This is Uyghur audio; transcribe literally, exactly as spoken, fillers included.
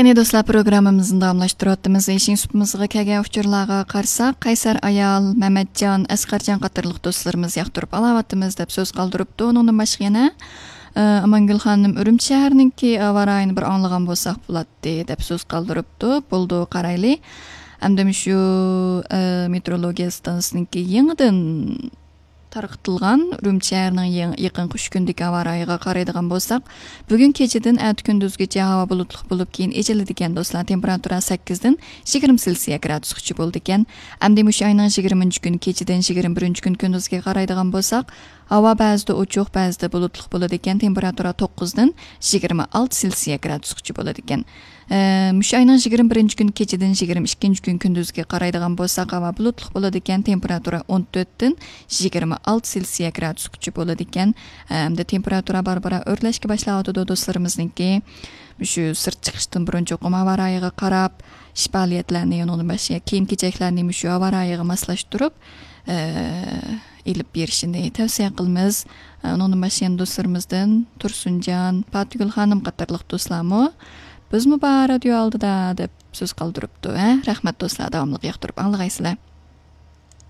يەنى دوستلار، پروگراممىمىزنى داۋاملاشتۇرۇۋاتىمىز. ئېشىڭ سۇپىمىزغا كەلگەن ئۇچۇرلارغا قارىساق، قەيسەر ئايال، مەمەتجان، ئەسقەرجان قاتارلىق دوستلىرىمىز ياقتۇرۇپ ئالاۋاتىمىز دەپ سۆز قالدۇرۇپتۇ. ئۇنىڭدىن باشقا يەنە، ئە، ئامانگۈل خانىم ئۈرۈمچى شەھىرىنىڭكى ھاۋا رايىنى بىر ئاڭلىغان بولساق بولاتتى دەپ سۆز قالدۇرۇپتۇ. بولىدۇ، قارايلى. ئەمدى مۇشۇ، ئە، مېتېئورولوگىيە ئىستانسىسىنىڭكى يېڭىدىن تارقىتىلغان ئۈرۈمچى شەھىرىنىڭ يېڭى، يېقىنقى ئۈچ كۈندىكى ھاۋا رايىغا قارايدىغان بولساق، بۈگۈن كېچىدىن ئەتە كۈندۈزگىچە ھاۋا بۇلۇتلۇق بولۇپ، كېيىن ئېچىلىدىكەن دوستلار. تېمپېراتۇرا سەككىزدىن يىگىرمە سېلسىيە گرادۇسقىچە بولىدىكەن. ئەمدى مۇشۇ ئاينىڭ يىگىرمىنچى كۈنى كېچىدىن يىگىرمە بىرىنچى كۈنى كۈندۈزگە قارايدىغان بولساق، ھاۋا بەزىدە ئوچۇق، بەزىدە بۇلۇتلۇق بولىدىكەن. تېمپېراتۇرا توققۇزدىن يىگىرمە ئالتە سېلسىيە گرادۇسقىچە بولىدىكەن. ئە، مۇشۇ ئاينىڭ يىگىرمە بىرىنچى كۈنى كېچىدىن يىگىرمە ئىككىنچى كۈن كۈندۈزگە قارايدىغان بولساق، ھاۋا بۇلۇتلۇق بولىدىكەن، تېمپېراتۇرا ئون تۆتتىن يىگىرمە ئالتە سېلسىيە گرادۇسقىچە بولىدىكەن. ئە، ئەمدى تېمپېراتۇرا بارا-بارا ئۆرلەشكە باشلاۋاتىدۇ دوستلىرىمىزنىڭكى. مۇشۇ سىرت چىقىشتىن بۇرۇن چوقۇم ھاۋا رايىغا قاراپ، ئىش پائالىيەتلەرنى، ئۇنىڭدىن باشقا كىيىم-كېچەكلەرنى مۇشۇ ھاۋا رايىغا ماسلاشتۇرۇپ، ئە، ئېلىپ بېرىشىنى تەۋسىيە قىلىمىز. ئە، ئۇنىڭدىن باشقا يەنە دوستلىرىمىزدىن تۇرسۇنجان، پاتىگۈل خانىم قاتارلىق دوستلارمۇ «بىزمۇ بار رادىيو ئالدىدا» دەپ سۆز قالدۇرۇپتۇ. ھە، رەھمەت دوستلار، داۋاملىق ياقتۇرۇپ ئاڭلىغايسىلەر.